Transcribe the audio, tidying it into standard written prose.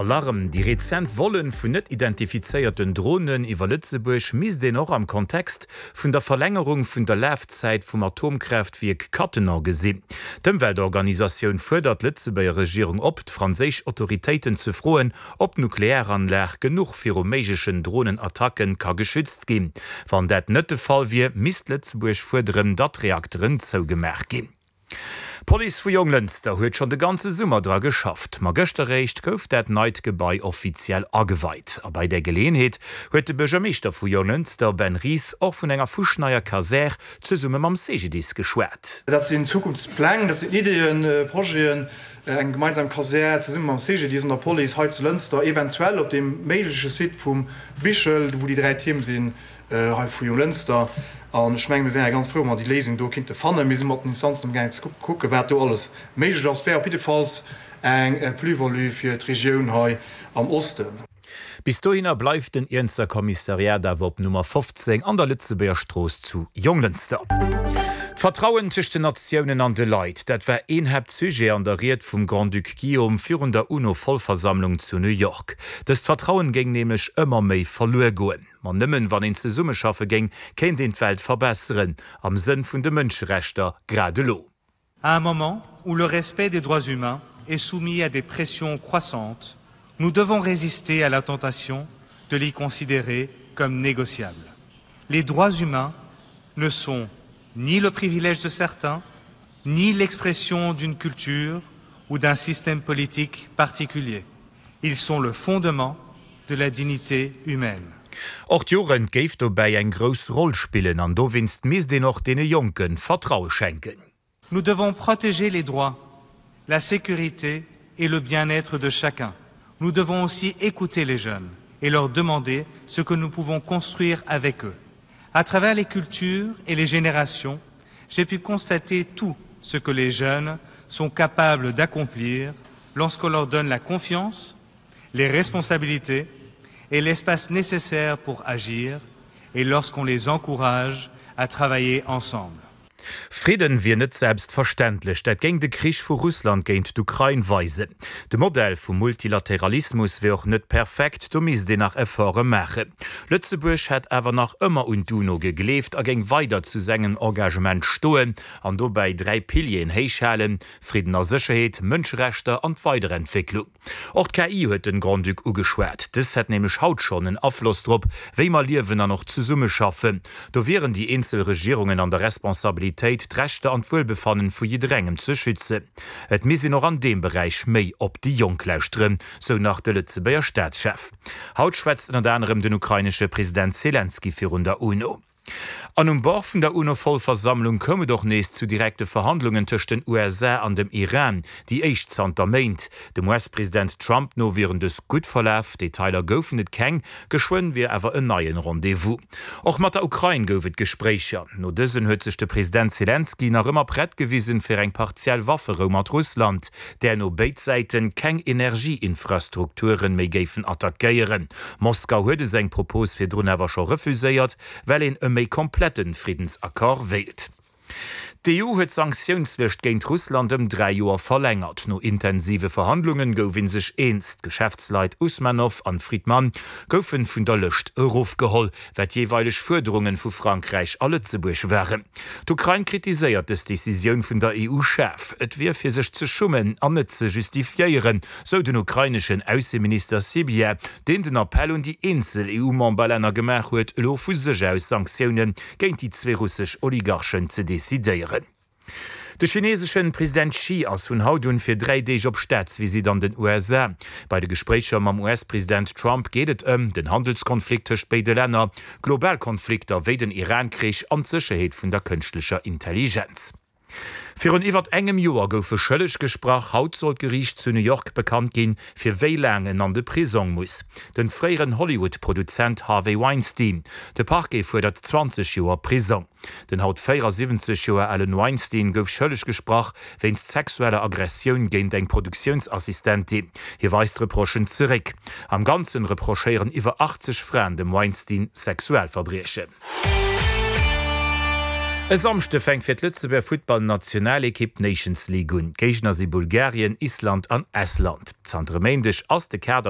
Alarm, Déi rezent Vollen vun net identifizéierten Dronen iwwer Lëtzebuerg misst een och am Kontext vun der Verlängerung vun der Lafzäit vum Atomkraaftwierk Cattenom gesinn. D'Ëmweltorganisatioun fuerdert d'Lëtzebuerger Regierung op, d'franséisch Autoritéiten ze froen, ob d'Nuklearanlag genuch viru méiglechen Dronenattacken ka geschützt ginn. Wann dat net de Fall wier, misst Lëtzebuerg fuerderen, datt d'Reakteren zougemaach ginn. D'Police vu Jonglënster huet schonn de ganze Summer dra geschafft, ma gëschter réischt gouf dat neit Gebai offiziell ageweit. A bei där Geleeënheet huet de Buergermeeschter vu Jonglënster, Ben Ries, och vun enger fuschneier Kasär zesumme mam CGDIS geschwat. Dat sinn Zukunftspläng, dat sinn Ideeën, Projeten, eng gemeinsam Kasär zesumme mam CGDIS an der Police hei zu Lënster, eventuell op deem méigleche Site vum Bichel, wou déi 3 Tierm sinn. Hei vu Jonglënster. An ech mengen, mir wäre ganz frou, wa mer déi Léisung do kinnte fannen. Mir si mat den Instanzen amgaangen ze kucken, wat do alles méiglech ass. Et wär op jiddefalls eng Plus-value fir d'Regioun hei am Osten. Bis dohinner bleift den Iernzer Kommissariat awer op Nummer 15 an der Lëtzebuerger Strooss zu Jonglënster. D'Vertrauen tëscht den Natiounen an de Leit, dat war een Haaptsujet an der Ried vum Grand-Duc Guillaume virun der UNO-Vollversammlung zu New York. Dëst Vertrauen géing nämlech ëmmer méi verluer goen. Ma nëmmen wann een zesummeschaffe géing, kéint een d'Welt verbesseren, am Sënn vun de Mënscherechter, grad elo. À un moment où le respect des droits humains est soumis à des pressions croissantes, nous devons résister à la tentation de les considérer comme négociables. Les droits humains ne sont ni le privilège de certains, ni l'expression d'une culture ou d'un système politique particulier. Ils sont le fondement de la dignité humaine. Och d'Jugend géif dobäi eng grouss Roll spillen an dowéinst misst een och deene Jonke Vertraue schenken. Nous devons protéger les droits, la sécurité et le bien-être de chacun. Nous devons aussi écouter les jeunes et leur demander ce que nous pouvons construire avec eux. À travers les cultures et les générations, j'ai pu constater tout ce que les jeunes sont capables d'accomplir lorsqu'on leur donne la confiance, les responsabilités et l'espace nécessaire pour agir et lorsqu'on les encourage à travailler ensemble. Fridden wier net selbstverständlech, dat géing de Krich vu Russland géint d'Ukrain weisen. De Modell vum Multilateralismus wier och net perfekt, do misst een nach Efforte maachen. Lëtzebuerg hätt awer nach ëmmer un d'UNO gegleeft a géing weider zu sengem Engagement stoen an dobäi 3 Pilieren héich halen, Fridden a Sécherheet, Mënscherechter an d'Weiderentwécklung. Och d'KI huet den Grand-Duc ugeschwat. Dës hätt nämlech haut schonn en Afloss drop, wéi mer liewen an och zesummeschaffen. Do wieren déi eenzel Regierungen an der Responsabilitéit, d'Rechter an d'Wuelbefannen vu jidderengem ze schützen. Et misst een och an deem Beräich méi op déi Jonk lauschteren, sou nach de Lëtzebuerger Staatschef. Haut schwätzt ënnert anerem den ukrainesche President Selenskyj virun der UNO. An um Bord vun der UNO-Vollversammlung koum et och nees zu direkte Verhandlungen tëscht den USA an dem Iran, déi éischt zanter Méint. Dem US-President Trump no wieren dës gutt verlaf, Detailer goufen et keng, geschwënn wier awer en neien Rendez-vous. Och mat der Ukrain gouf et Gespréicher. No dësen huet sech de President Selenskyj nach ëmmer prett gewisen fir eng partiell Wafferou mat Russland, där no béid Säiten keng Energieinfrastrukturen méi géifen attackéieren. Moskau huet esou eng Propos virdrun awer scho refuséiert, well een e méi komplette Friddensaccord wéilt. D'EU huet d'Sanktiounslëscht géint Russland ëm 3 Joer verlängert. No intensive Verhandlungen gouf ee sech eens. D'Geschäftsleit Usmanow an Fridman goufen vun der Lëscht erofgeholl, wat jeeweileg Fuerderungen vu Frankräich a Lëtzebuerg waren. D'Ukrain kritiséiert dës Decisioun vun der EU schaarf. Et wier fir sech ze schummen an net ze justifiéieren, sou den ukraineschen Ausseminister Sybiha, deen den Appell un déi eenzel EU-Memberlänner gemaach huet, elo vu sech aus Sanktioune géint déi zwee russesch Oligarchen ze decidéieren. De chineeseschen President Xi ass vun haut un fir 3 Deeg op Staatsvisitt an den USA. Bei de Gespréicher mam US-President Trump geet et ëm den Handelskonflikt tëscht béide Länner, global Konflikter wéi den Iran-Krich an d'Sécherheet vun der kënschtlecher Intelligenz. Virun iwwert engem Joer gouf e schëlleg gesprach. Haut soll d'Geriicht zu New York bekannt ginn, fir wéi laang en an de Prisong muss. Den fréieren Hollywood-Produzent Harvey Weinstein. De Parquet fuerdert 20 Joer Prisong. Den haut 74 Joer alen Weinstein gouf schëlleg gesprach wéinst sexueller Aggressioun géint eng Produktiounsassistentin. Hie weist d'Reprochen zeréck. Am Ganzen reprochéieren iwwer 80 Fraen dem Weinstein Sexualverbriechen. E Samschde fänkt fir d'Lëtzebuerger Futtballnationalekipp d'Nations League un. D'Géigner si Bulgarien, Island an Estland. Zanter e Méindeg ass de Kader.